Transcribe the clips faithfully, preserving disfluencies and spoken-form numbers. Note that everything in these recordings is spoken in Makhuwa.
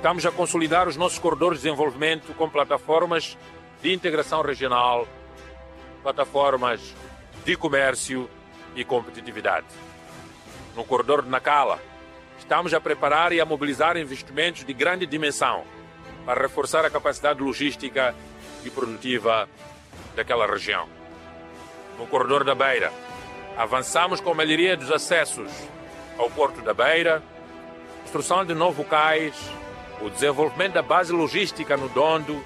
Estamos a consolidar os nossos corredores de desenvolvimento com plataformas de integração regional, plataformas de comércio e competitividade. No corredor de Nacala, estamos a preparar e a mobilizar investimentos de grande dimensão para reforçar a capacidade logística e produtiva daquela região. No corredor da Beira, avançamos com a melhoria dos acessos ao Porto da Beira, construção de novo cais, o desenvolvimento da base logística no Dondo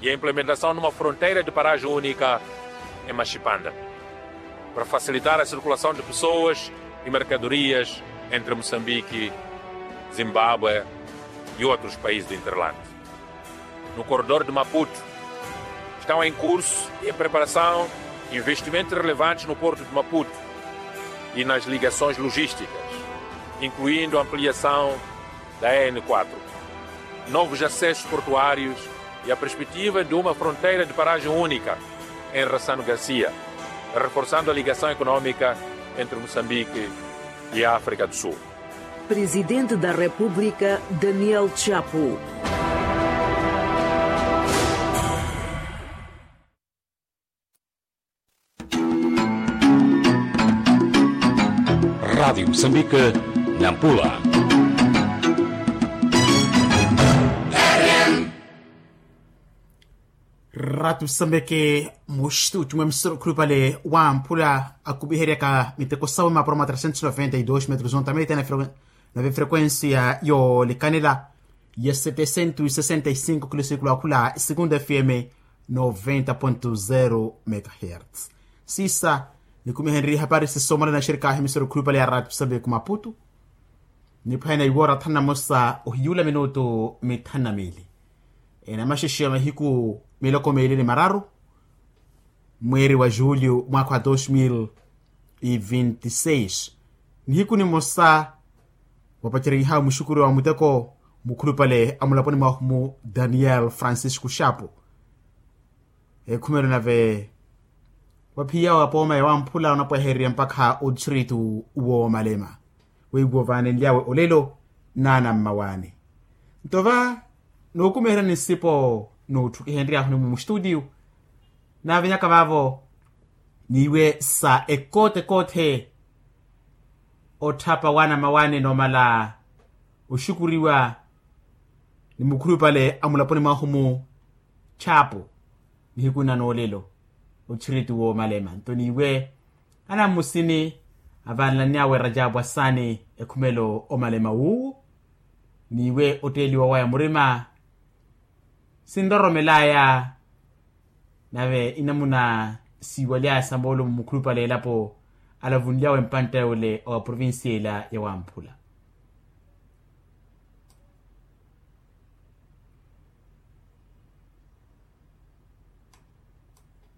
e a implementação de uma fronteira de paragem única em Machipanda, para facilitar a circulação de pessoas e mercadorias entre Moçambique, Zimbábue e outros países do hinterland. No corredor de Maputo, estão em curso e em preparação investimentos relevantes no porto de Maputo e nas ligações logísticas, incluindo a ampliação da E N quatro, novos acessos portuários e a perspectiva de uma fronteira de paragem única em Rassano Garcia, reforçando a ligação econômica entre Moçambique e a África do Sul. Presidente da República, Daniel Chapo. Rádio Moçambique, Nampula. Ratu sambeke muxtu cumwa emisoro khulupale wa mphula akupiheryaka miteko sawe mapuro ma trecentos noventa e dois metros ontamete na frequen- na vefrequência yoolikanela ya setecentos e sessenta e cinco kilo sikulu akhula segundo fm noventa ponto zero megahertz. Sisa nikumihenrye hapari sisomala na xerikahi emisoro khulupale ya ratu sambeke maputu. Niphwanya iwoora thanu na mosa ohiyula minutu mithanu na miili. Enamaxexe ya mahiku miloko miili ni mararu mweeri wa julho mwaakha wa dos mil e vinte e seis. Nihiku nimosa wapaceryihawe muxukuri wa muteko mukhulupale a mulaponi mwahu-mu daniel francisco xapo. Ekhumelo nave waphiyawe apooma ya wamphula onapwehererya mpakha otthiritu woomalema. Weiwo vaanenlyawe olelo n'anammawaani. Nto va nookumiherya ni nsipo nootthukihenryahuni mumu studio naavenyaka vaavo n'iwe sa ekoote ekoote otthapa w'anammawaani noomala oxukuriwa ni mukhulupale a mulaponi mwahu-mu chapo. Nihiku nna noolelo otthiritu woomalema nto n'iwe anammusini avaanlanny'awe rajabu asaani ekhumelo omalema wuuwu. N'iwe otteeliwa waya murima sinroromel'aya nave inamuna siiwaly'aya sa moolumo mukhulupale elapo alavunly'awe mpantta yole owa provincia ila ya wamphula.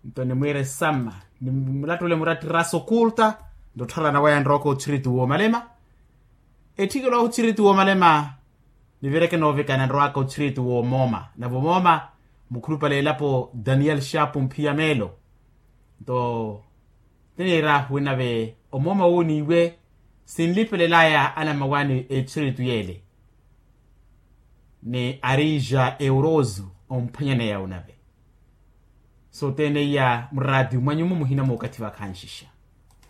Nto nimwiire samma nimulattule murattirasa okulta nto ottharana waya nrooka otthiritu woomalema. Etthikelo ahu otthiritu woomalema nivireke noovikana nrowaka otthiritu woomooma nave omooma mukhulupale elapo daniel xapo mphiya meelo. Nto tiniir'ahu wi nave omooma wu n'iwe sinlipelel'aya anammawaani etthiritu yeele ni arija euroso omphwanyaneya onave. Sothene iya muraatiyo mwanyumu muhina mookathi vakhanxixa.